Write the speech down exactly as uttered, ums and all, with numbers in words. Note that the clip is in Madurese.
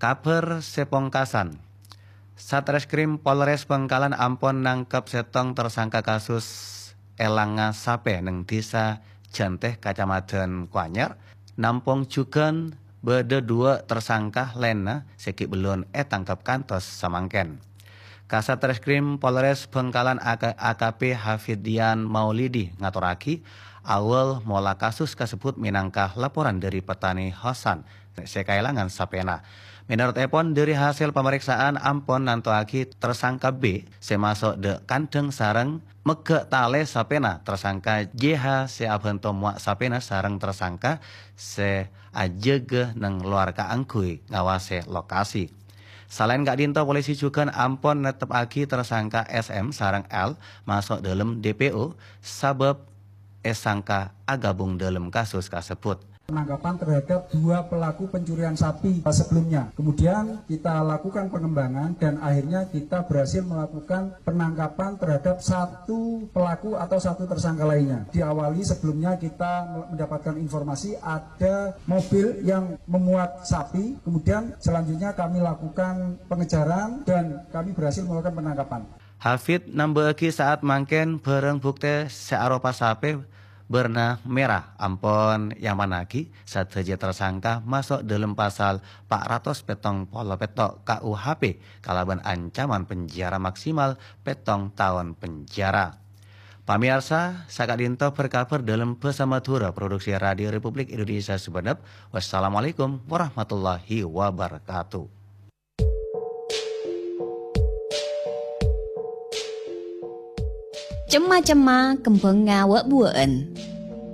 Kabhâr sè pongkasan. Satreskrim Polres Bangkalan ampon nangkep sèttong tersangka kasus èlangnga sapè neng Dhisa Jantè, Kacamadhân Koanyar. Nampong jhughân bâdâ duwâ' tersangka laènna sè ghi' bellun ètangkep kantos samangkèn. Kasat Reskrim Polres Bangkalan A K, A K P Hafidian Maulidi ngatorragi, awal mola kasus kasebbhut mènangka laporan dhâri petani Hasan sè kaèlangan sapèna. Mènorot èpon, dhâri hasèl pamrèksaan ampon nantowaghi tersangka B sè maso' dâ' kandhâng sareng megghâ' talè sapèna tersangka J H sè abhânto mowa' sapèna sareng tersangka sè ajâgâ neng lowar kaangghuy ngawasè lokasi. Salaèn ka'dinto, polisi jhughân ampon netteppaghi tersangka S M sareng L maso' dâlem D P O sabâb èsangka aghâbung dâlem kasus kasebbhut. Penangkapan terhadap dua pelaku pencurian sapi sebelumnya. Kemudian kita lakukan pengembangan dan akhirnya kita berhasil melakukan penangkapan terhadap satu pelaku atau satu tersangka lainnya. Diawali sebelumnya kita mendapatkan informasi ada mobil yang memuat sapi, kemudian selanjutnya kami lakukan pengejaran dan kami berhasil melakukan penangkapan. Hafid nambâ'âghi, saat mangkèn bhârâng buktè sè aropa sapè bârna mèra ampon èamannaghi, sadhâjâ tersangka maso' dâlem pasal pa' ratos pèttong polo pètto' K U H P kalabân ancaman penjara maksimal pèttong taon penjara. Pamèyarsa, saka'dinto bhâr-kabhâr dâlem bhâsa Madhurâ, produksi Radio Republik Indonesia Sumenep. Wassalamualaikum warahmatullahi wabarakatuh. Cemma-cemma kembhângnga wâ'-buwâ'ân.